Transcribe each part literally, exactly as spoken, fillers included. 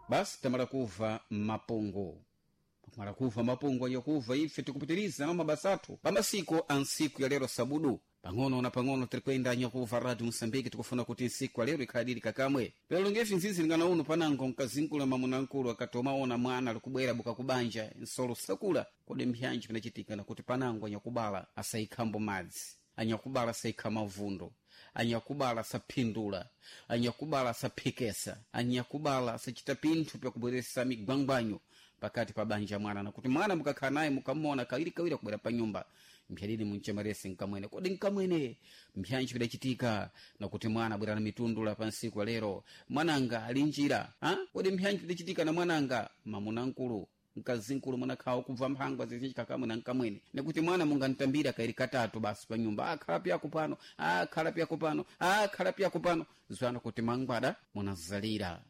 Basi tamala kuva mapungu, pakumala kuva mapungu anyakuva ife tikupitiriza na mabasa athu pamasiku a nsiku ya lero sabudu. Pang'ono na pang'ono tirikwenda, anyakuva Radio Moçambique. Tikufuna kuti nsiku ya lero ikhaladiri kakamwe pelo ngefi nzizi lingana uno panango mkazinkulu mamunankulu akati omaona mwana alikubwera buka kubanja nsolo sakula. Kodi mpyanji pinachitika nakuti panango anyakubala asayikhambo madzi, anyakubala asaikha mavundo, anyakubala asaphindula, anyakubala asaphikesa, anyakubala asachita pinthu pyakubweresa migwangwanyo pakati pa banja mwana, nakuti mwana mukakhala naye mukamona kawiri kawiri akubwera pa nyumba, mphyadidi munchemerese nkamwene. Kodi nkamwene mpyanji pidachitika nakuti mwana abwera na mitundula pa nsiku lero, mwananga ali njira ha? Kodi mpyanji pidachitika na mwananga mamunankulu, mkazinkulu munakhawa kubva mphangwa zizinji na nkamwene, nekuti mwana mungantambira kairi katatu basi pa nyumba, akhala pyako pano, akhala pyako pano, akhala pyako pano, zwana kuti mangwada munazalira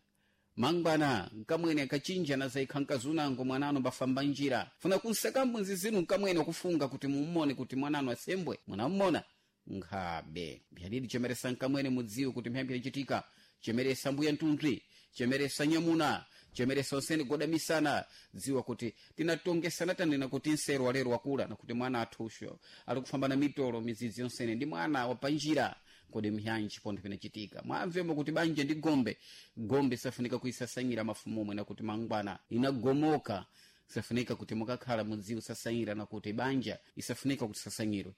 mangwana nkamwene akachinja nazaikha nkazunango mwanano mbafamba njira funa kunsakambo nzizinu nkamwene kufunga kuti mummone kuti mwanano asembwe munammona nkhabe. Mphyadidi chemeresa nkamwene, mudziwe kuti mphyambi yachitika. Chemeresa mbuya ntuntwi, chemeresa nyamuna, chemeresa onsene godamisana. Dziwa kuti tinatongesana tanena kuti nsero walero wakula nakuti mwana athusho ali kufamba na mitolo midzidzi yonsene ndi mwana wapanjira. Kodi mhyanji pontho pinachitika? Mwamvemo kuti banja ndi gombe, gombe safunika kuisasanyira mafumomwe nakuti mangwana inagomoka. Safunika kuti mukakhala mudziwe sasanyira nakuti banja isafunika kuti sasanyirwe.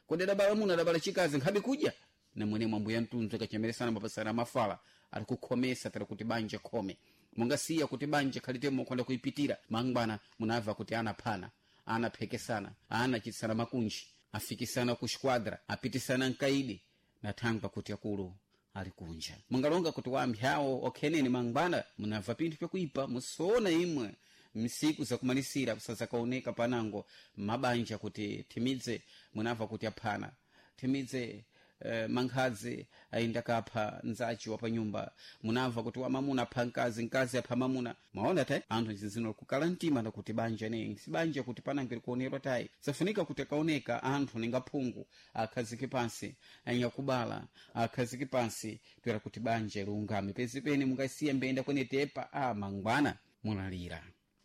Kodi adabala muna, adabala chikazi nkhabe kudya namwene mwambuya mtunzi akachemeresana mapasana mafala ali kukhomesa tali kuti banja khome mungasiya kuti banja khalitemo kwanda kuipitira mangwana munabva kuti anaphana, anaphekesana, anachitsana makunji, afikisana ku squadra, apitisana mkaidi nathangwa kuti akulu ali kunja. Mungalonga kuti wampyawo okhenene mangwana munabva pinthu pyakuipa musoona imwe msiku zakumalisira kusazakaoneka panango mabanja kuti thimidze munabva kuti aphana, thimidze eh, mankhadzi ayinda kapha nzachi wa panyumba, munamva kuti wamamuna apha mkazi, mkazi apha mamuna. Mwaona tayi anthu zinzino kukala mtima nakuti banja ne si banja kuti panango likuonerwa tayi. Safunika kuti akaoneka anthu ninga phungu akhazike pansi, anyakubala akhazike pansi toera kuti banja liungame pezipene mungasiya mbenda kwene tepa a mangwana munalira.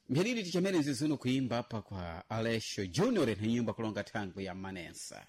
Mphyalili tichamene zizino kuimba apa kwa Alexio Junior na nyimba kulonga thangwi ya Manensa.